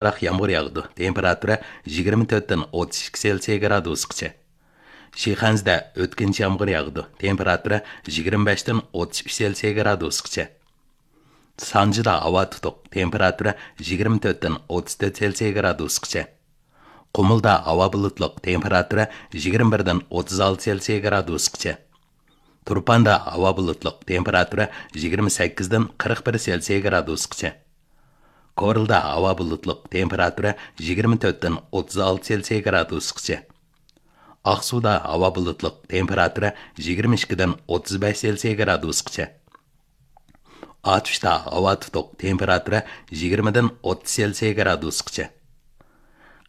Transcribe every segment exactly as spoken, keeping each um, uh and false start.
ئازراق يامغۇر ياغىدۇ، تېمپېراتۇرا يىگىرمە تۆتتىن ئوتتۇز ئىككى سېلسىيە گرادۇسقىچە. شىخەنزىدە ئۆتكۈنچى يامغۇر ياغىدۇ، تېمپېراتۇرا يىگىرمە بەشتىن ئوتتۇز ئۈچ سېلسىيە گرادۇسقىچە. سانجىدا ھاۋا تۇتۇق، تېمپېراتۇرا يىگىرمە تۆتتىن ئوتتۇز تۆت سېلسىيە گرادۇسقىچە. قۇمۇلدا ھاۋا بۇلۇتلۇق، تېمپېراتۇرا يىگىرمە بىردىن ئوتتۇز ئالتە سېلسىيە گرادۇسقىچە. تۇرپاندا ھاۋا بۇلۇتلۇق، تېمپېراتۇرا يىگىرمە سەككىزدىن قىرىق بىر سېلسىيە گرادۇسقىچە. كورلىدا ھاۋا بۇلۇتلۇق، تېمپېراتۇرا يىگىرمە تۆتتىن ئوتتۇز ئالتە سېلسىيە گرادۇسقىچە. ئاقسۇدا ھاۋا بۇلۇتلۇق، تېمپېراتۇرا يىگىرمە ئىككىدىن ئوتتۇز بەش سېلسىيە گرادۇسقىچە. ئاتۇشتا ھاۋا تۇتۇق، تېمپېراتۇرا يىگىرمىدىن ئوتتۇز سېلسىيە گرادۇسقىچە.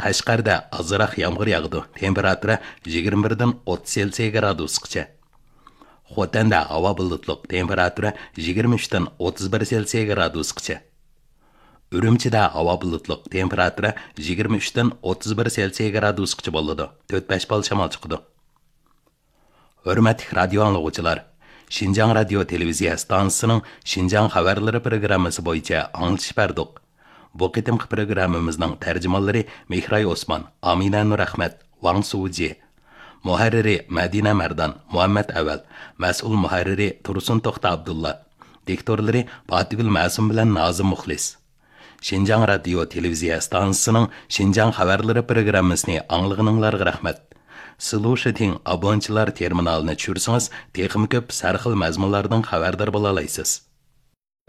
قەشقەردە ئازراق يامغۇر ياغىدۇ، تېمپېراتۇرا يىگىرمە بىردىن ئوتتۇز سېلسىيە گرادۇسقىچە. خوتەندە ھاۋا بۇلۇتلۇق، تېمپېراتۇرا يىگىرمە ئۈچتىن ئوتتۇز بىر سېلسىيە گرادۇسقىچە. ئۈرۈمچىدە ھاۋا بۇلۇتلۇق، تېمپېراتۇرا يىگىرمە ئۈچتىن ئوتتۇز بىر سېلسىيە گرادۇسقىچە بولىدۇ، تۆت بەش بال شامال چىقىدۇ. ھۆرمەتلىك رادىيو ئاڭلىغۇچىلار، شىنجاڭ رادىيو تېلېۋىزىيە ئىستانسىسىنىڭ شىنجاڭ خەۋەرلىرى پروگراممىسى بويىچە ئاڭلىتىش بەردۇق. بۇ قېتىمقى پروگراممىمىزنىڭ تەرجىمانلىرى مېھراي ئوسمان، ئامىنە نۇرئەخمەت، ۋاڭ سۇجى. مۇھەررىرى مەدىنە مەردان، مۇھەممەت ئەۋەل. مەسئۇل مۇھەررىرى تۇرسۇن توختى ئابدۇللا. دىكتورلىرى پاتىگۈل مەسۇم بىلەن نازىم مۇخلىس. شىنجاڭ رادىيو تېلېۋىزىيە ئىستانسىسىنىڭ شىنجاڭ خەۋەرلىرى پروگراممىسىنى ئاڭلىغىنىڭلارغا رەھمەت. سلۇشىتىڭ ئابونچىلار تېرمىنالىنى چۈشۈرسىڭىز، تېخىمۇ كۆپ سەرخىل مەزمۇنلاردىن خەۋەردار بولالايسىز.